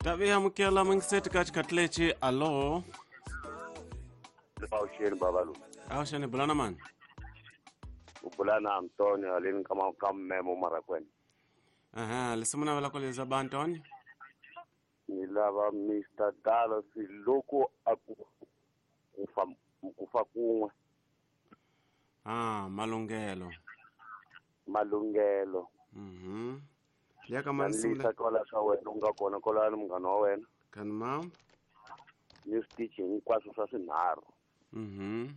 Tavi amukela mingiseti ka xikhathi lexi. Alo. Awuxeni baba loyi. Awuxeni, bulana mani? U bula na Antonio haleni ka mmemo Marakwena. Aha, lesimu navela ku leza ba Antonio. Ni lava Mr. Dallas loko a ku kufa kufa kun'we. Ah, malunghelo. Malunghelo. Mhm. Ya ka mani Lisa simula. kwala swa wena u nga kona kwalani munghana wa wena. Kan mam. Ni switichi hinkwaswo swa swinharhu. Mhm.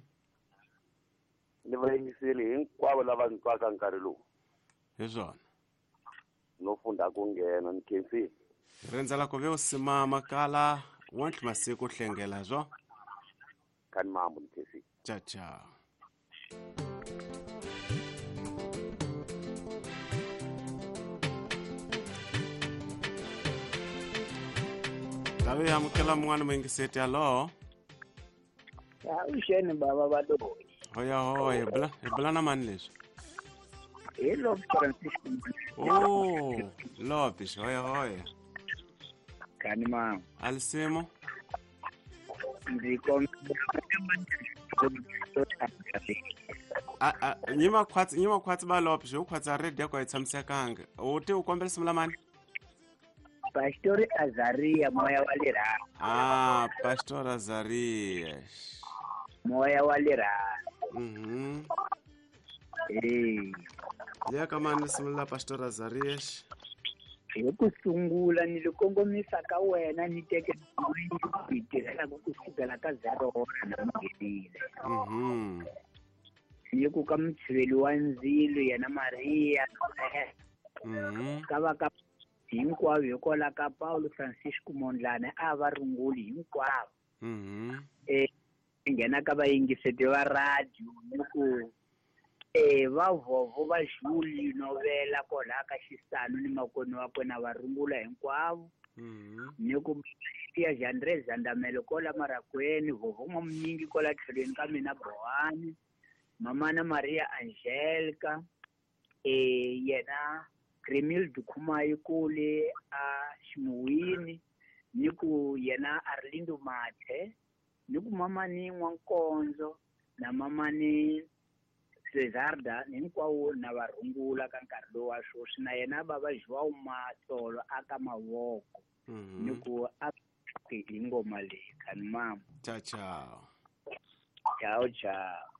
Ni vayingiseli hinkwavo lava ni twaka nkarhi lowu. Hi swona. No funda ku nghena ni khensile. Rendzela ku ve u simama kala wontlhe masiku hlengela zwo. Kani mambo ni khensile. Ciao ciao. Tavi amukela mun'wana muyingiseti. Alo. Awuxeni baba Baloyi. Hoya hoya, hi bula na mani leswi? Hi Love Francisco. Oh, Lopes, hoya hoya. Kani mama. Alisimo? Ndzi kombela Nyima khwatsi, nyima khwatsi ba Lopes, u khwatsa radio ko yi tshamisekanga. U ti u kombela simula mani? Pastor Azaria moya wa lerha. Ah, Pastor Azaria. Moya wa lerha. Mhm. Eh. Ya ka mani simula Pastor Azaria. Hi ku sungula ni li kongomisa ka wena ni teke yi tirhelaka ku sukela ka 0 hora na mugedile. Mhm. Ni ku ka mutshiveli wa ndzilo yena Maria. Mhm. Ka va ka hinkwavo hikwalaho ka Paulo Francisco Mondlane a va runguli hinkwavo. Mhm. Nghena ka vayingiseti va radio ni ku va vovo va Julie Novela kwalaha ka Xisanu ni makoni wa kona va rungula hinkwavo. Mhm. Ni ku ya Jandre Zandamelo kola Marakweni, vovo n'wamunyingi kola tlhelweni ka mina Bohani, mamana Maria Angelica, yena Remil Dukhumayi kule a Ximuwini, ni ku yena Arlindo Mathe, ni ku mamani N'wankonzo na mamani Cesarda hinkwawo na va rungula ka nkarhi lowu wa sweswi, na yena baba João Matsolo aka mavoko. Ni ku a hi ngoma leyi kani mama. Ciao ciao. Ciao ciao.